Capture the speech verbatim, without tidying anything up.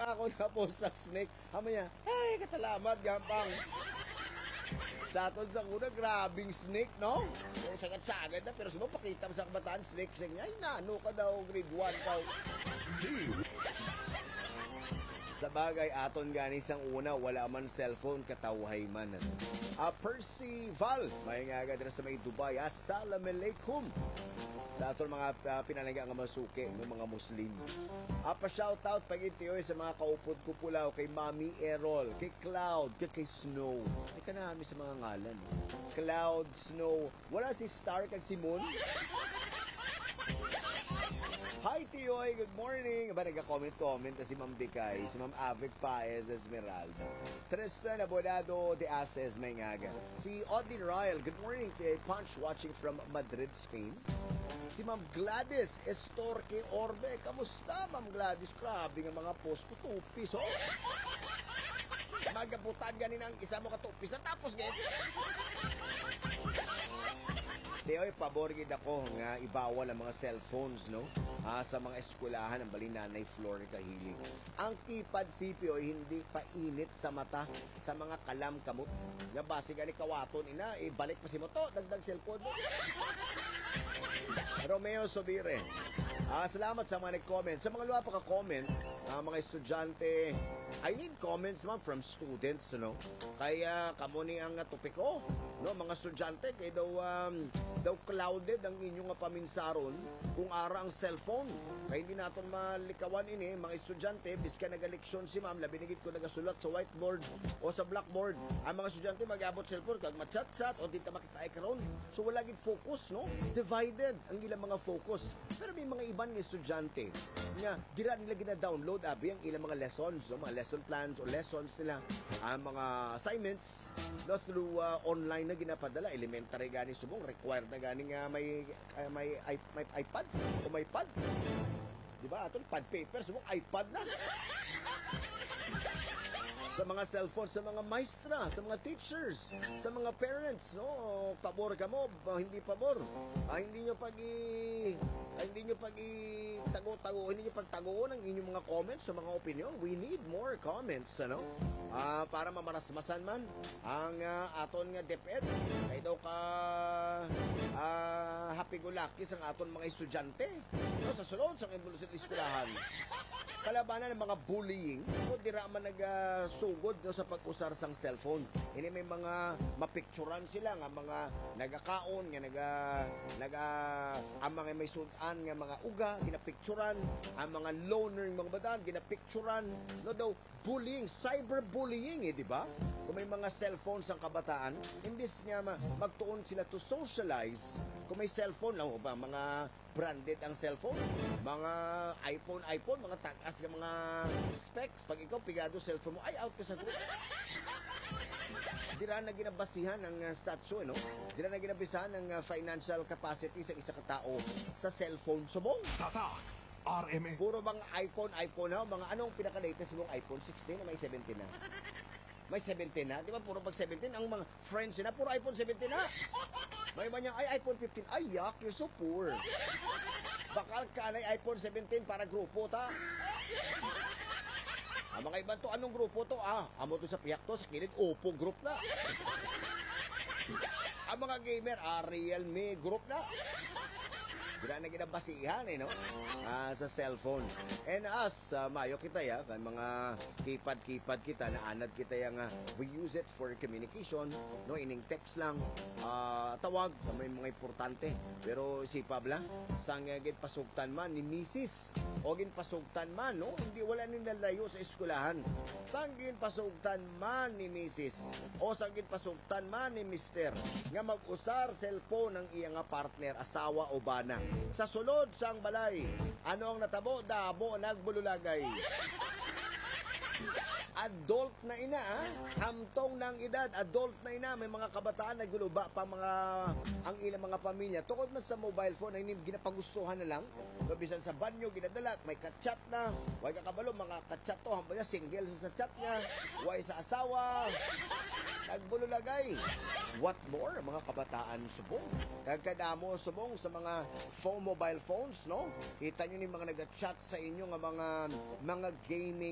Ako na po sa snake. Amo niya, "Ay, katalamat, gampang." Sa aton sa una, grabing snake, no? Yung sagad-sagad na, pero sa mga pakita mo sa kabataan, snake siya niya. Ay, nano ka daw, grade one daw. Sa bagay, aton gani sang una, wala man cellphone, katawhay man. Ah, Percival, may nga agad na sa may Dubai. Assalamualaikum. Sa aton mga, ah, pinalangga nga masuki, ng mga Muslim. Apa shoutout pag itioy sa mga kaupod ko pulaw, kay Mami Errol, kay Cloud, kay, kay Snow. Ay, kanami sa mga ngalan. Cloud, Snow. Wala si Star kag si Moon. Hi, Tiyoy. Good morning. Ba, nagka-comment-comment na si Ma'am Bikay, si Ma'am Avic Paez Esmeralda. Tristan Abonado de Ases, may ngaga. Si Audie Ryle, good morning, Tiyoy Punch, watching from Madrid, Spain. Si Ma'am Gladys Estorque Orbe, kamusta, Ma'am Gladys? Grabe nga mga post ko, two piece, oh. Magabutan gani na ang isa mo ka two piece, tapos gani. Tiyoy, pabor gid ako nga ibawal ang mga cellphones, no? Ah, sa mga eskwelahan, ang bali Nanay Flor kahilig. Ang keypad C P, oy, hindi painit sa mata sa mga kalam kamot. Nga basi gani kawaton ina, ibalik pa si mo to, dagdag cellphone mo. Romeo Sobire. Ah, salamat sa mga nag-comment. Sa mga luwa pa ka-comment, ah, mga estudyante, I need comments, ma'am, from students, no? Kaya kamo ni ang, ah, topiko, no, mga estudyante, kay daw, um, daw clouded ang inyo nga paminsaron kung ara ang cellphone. Kay hindi naton malikawan ini, mga estudyante, bisan nagaleksyon si ma'am, labi na gid kung nagasulat sa whiteboard o sa blackboard. Ang mga estudyante mag-abot cellphone kag ma-chat-chat o di ta makita ay karon. So wala gid focus, no? Divided ang ilang mga focus. Pero may mga iban nga estudyante nga dira nila gina-download abi ang ilang mga lessons, no? Mga lesson plans o lessons nila, ang mga assignments, no, through, uh, online na ginapadala. Elementary gani subong, required na gani nga may, uh, may, i- may iPad o may pad. Di ba? Aton pad paper, subong iPad na. Sa mga cellphone, sa mga maestra, sa mga teachers, sa mga parents, no? Pabor kamo, ba, hindi pabor. Ah, hindi nyo pag i-, ah, hindi nyo pag i-tago-tago, hindi nyo pagtagoon ang inyong mga comments sa mga opinion. We need more comments, ano? Ah, para mamarasmasan man ang, ah, aton nga DepEd. Kay daw ka, ah, happy-go-lucky sang aton mga estudyante. No, sa sulod sang eskwelahan. Kalabanan ang mga bullying, no, dira man nagasugod, no, sa pag-usar sang cellphone. Ini may mga mapicturan sila nga mga nagakaon, nga naga-, naga-, ang mga may sud-an nga mga uga, ginapicturan, ang mga loner, mga bataan, ginapicturan, no, daw bullying, cyberbullying, eh, di ba? Kung may mga cellphone sang kabataan, imbis nga ma-, magtuon sila to socialize, kung may cellphone lang, o ba, mga branded ang cellphone, mga iPhone, iPhone, mga tagas nga mga specs. Pag ikaw pigado cellphone mo, ay, out ka sa group. Dira na ginabasihan ang, ah, statue, no? Dira na ginabasihan ang, ah, financial capacity sa isa ka tao sa cellphone. Subong. Tatak R M N. Puro bang iPhone, iPhone, ha? Mga anong pinaka-latest mong iPhone? Sixteen na, may seventeen na? May seventeen na? Di ba puro pag seventeen ang mga friends na? Puro iPhone seventeen na. May iba niya, "Ay, iPhone fifteen." Ay, yak, you're so poor. Bakal ka na iPhone seventeen para grupo ta. Ang mga iban to, anong grupo to? Ah, amo to sa pihak to, sa kilid, Oppo group na. Ang mga gamer, ah, Realme group na. Dira na ginabasihan, eh, no? Ah, sa cellphone. And us, ah, mayo kita, ya, kan mga keypad-keypad kita, naanad kita, ya, nga we use it for communication, no? Ining text lang, ah, tawag, may mga importante. Pero isipa bala, sang, eh, ginpasugtan man ni misis, o ginpasugtan man, no? Hindi, wala ni nalayo sa eskwelahan. Sang ginpasugtan man ni misis, o sang ginpasugtan man ni mister, nga mag-usar cellphone ang iya nga partner, asawa o bana. Sa sulod sang balay, ano ang natabo? Damo nagbululagay. Adult na ina, ah. Hamtong na ang edad, adult na ina. May mga kabataan naguluba pa mga, ang ilang mga pamilya. Tungod man sa mobile phone, ay nim-, ginapagustuhan na lang. No, bisan sa banyo, ginadala, may ka-chat na. Way ka kabalo, mga ka-chat to. Hambal niya, single sa, sa chat niya. Way sa asawa. Nagbululagay. What more, mga kabataan subong? Kag kadamo subong sa mga phone, mobile phones, no? Kita nyo ni mga nag-chat sa inyo nga mga, mga gaming